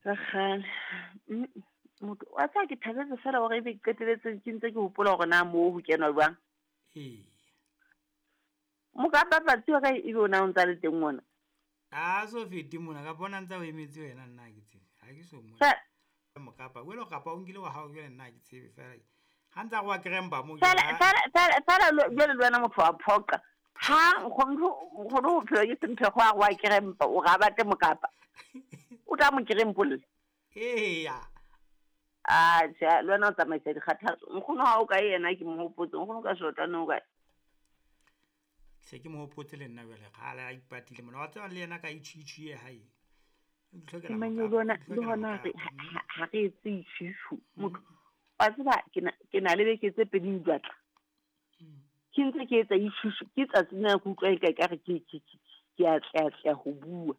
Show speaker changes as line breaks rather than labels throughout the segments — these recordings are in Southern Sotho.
Tsa kgale. Motho wa tseba ke thabetse fela hore ebe ke qeteletse ke ntse ke hopola hore na moo ho kenwa jwang.
Ee.
Mokapa patsi wa ka ebe o na o ntsa le teng mona.
A so fete mona ka bona ntsa o emetse wena nna ha ke tsebe. Ha ke so mona. Mokapa, o ile kapa o nkile wa hao jwale nna ha ke tsebe fela. Ha ntsa go wa kremba mo.
Fela fela fela fela jwale le wena motho wa phoqa. Ha nkgono nkgono ho phela ke semphego a go wa krempa o ga batle mokapa. O tla mo krempolla.
Eya.
A tjhe, le wena o tsamaisa dikgathatso. Nkgono ha o kae yena ke mo hopotse. Nkgono ka shotane o kae?
Se ke mo hopotse le nna jwale kgale a ipatile mona. Wa tseba le yena ka itjhitjhi ye hae.
Le hona ha re etse itjhitjhu. Motho wa tseba ke na le beke tse pedi di batla. Ke ntse ke etsa itjhitjhu ke tsatsi lena ke utlwa e ka re ke ke a tleatleha ho bua.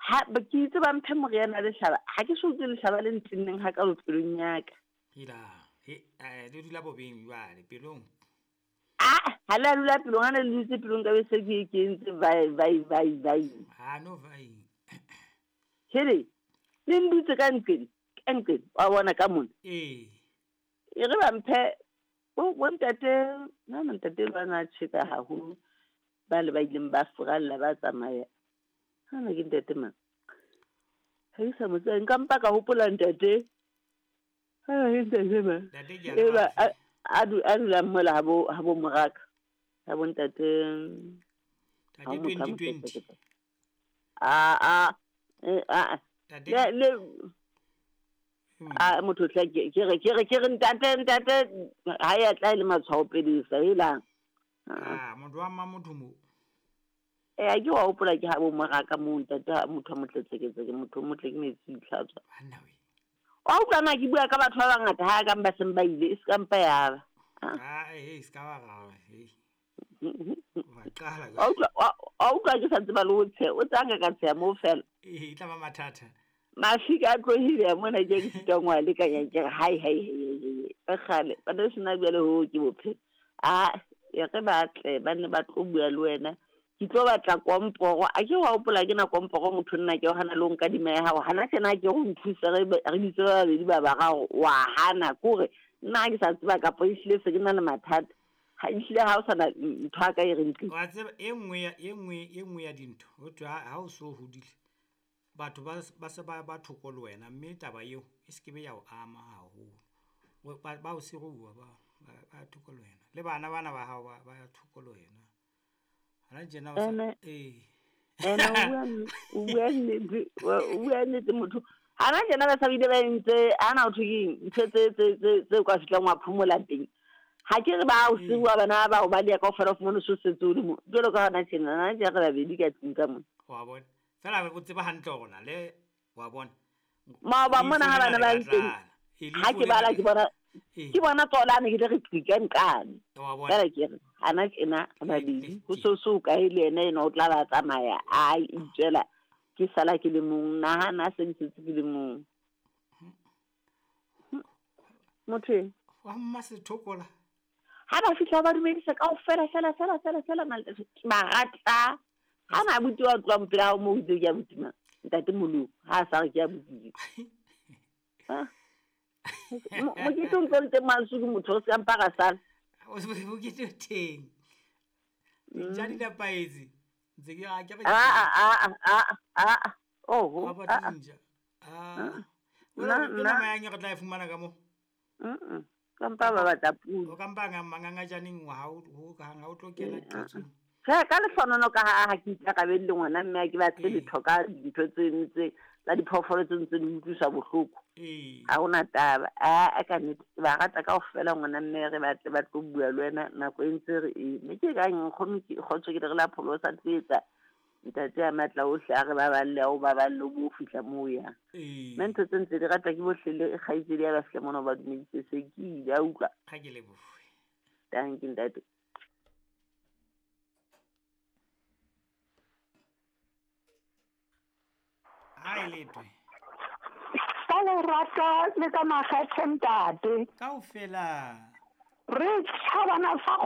Ha ke itse ba mphe moriana lehlaba, ha ke so utlwe lehlaba le ntenneng hakalo pelong ya ka.
Hela, he, le dula bobeng jwale pelong.
Ah, ha le a dula pelong, ha ne le dutse pelong ka be se ke entse vai vai vai vai.
Ha no vai.
Hele, le ndutse ka nqeng, ka nqeng, wa bona ka mona.
Ee.
E re ba mphe bo ntate, na ntate ba na tjheka haholo, ba le ba ileng ba furalla ba tsamaya. Hana ke ntate mang? Ha ke sa mo tseba, nka mpa ka hopola ntate. Hana ke ntate mang?
Ntate ke
E ba a dulang mola ha bo moraka. Ha bo ntate.
Ntate 2020.
A a
Ntate
le a motho tla ke re ntate ntate ha ya tla le matshwao pele sa helang.
Ah, motho wa mma motho mo.
Eh, ke wa hopola ke ha bo moraka mo ntate motho a motle tseketseke motho o motle ke metsi itlhatswa.
Banna we.
Wa utlwa na ke bua ka batho ba bangata ha ka ba seng ba ile e se ka mpa ya ba.
Ah, eh, se ka ba ra, eh. Wa qala.
Wa utlwa ke sa tseba le ho tsheha, o tsanga ka tsheha mo fela.
Eh, e tla ba mathata.
Mafika a tlohile mona ke ke sitang wa lekanya ke re hai hai hai hai kgale ba ne sena jwale ho ke bophelo. A e re ba tle ba ne ba tlo bua le wena. Ke tlo batla komporo, a ke wa hopola ke na komporo motho nna ke hana le ho nka dima ya hao. Hana tjena ke ho nthusa re bitse ba babedi ba bararo wa hana kore nna ha ke sa tseba kapa ehlile se ke na le mathata. Ha ehlile ha o sana ntho a ka e re ntle.
Wa tseba e nngwe ya dintho ho thwe ha o so hodile batho ba se ba thoko le wena mme taba eo e se ke be ya o ama haholo. Ba o siruwa ba thoko le wena. Le bana bana ba hao ba thoko le wena. Hana tjena o sa eh.
Ene o bua nnete motho. Hana tjena ba sa bile ba entse ana o thwe ntho tse tse ka fihlang wa phomola teng. Ha ke re ba o siruwa bana ba o ba le ka ofela fumana so setse o le mo. Jwalo ka hona tjena na tjena re babedi ka tlung ka mona.
Wa bona. Fela o tseba hantle hore na le wa bona.
Maoba mona ha bana ba nteng. Ha ke bala ke bona ke bona tsona ne ke re qika nqane. Fela ke re hana tjena babedi ho so kae le yena ena o tla ba tsamaya a itswela ke sala ke le mong nahana se ke setse ke le mong. Motho
wa mma sethokola.
Ha ba fihla ba dumedisa kaofela fela fela fela fela ba rata. Ha na abuti wa tloha mpela hao moo itse ke abuti mang? Ntate Molo ha a sa re ke abuti. Ha. Mokete o ntlo le teng mansu ke motho o se ka mpa ra sala.
Mokete o teng. Dintja di nepahetse. Ntse ke a ke re.
A. Oho.
Ha ba dintja. Ah. Nna nama yang re tla e fumana ka mo.
Ka mpa ba batla pula.
O ka mpa mangangajaneng wa hao ho ka hang ha o tlo kena qatsong.
Tjhe, ka lehlonono ka ha ke ikarabelle ngwana mme ha ke batle letho ka dintho tse tse tsa diphoofolo tse ntse di utlwisa bohloko. Ha hona taba. A ka nnete ke ba rata kaofela ngwana mme re batle ba tlo bua le wena nako e ntse re e. Mme ke kang nkgono ke kgotso ke re la pholo sa tlo etsa ntate ya matla ohle a re baballe a o baballe o bo fihla moo yang. Mme ntho tse ntse di rata ke bohle le kgaitsedi ya ba fihla mona ba dumeditse se ke ile a utlwa.
Ha ke lebohe.
Danke ntate.
Hai letwe.
Ka lerato le ka makgethe ntate.
Kaofela.
Re tjhabana sa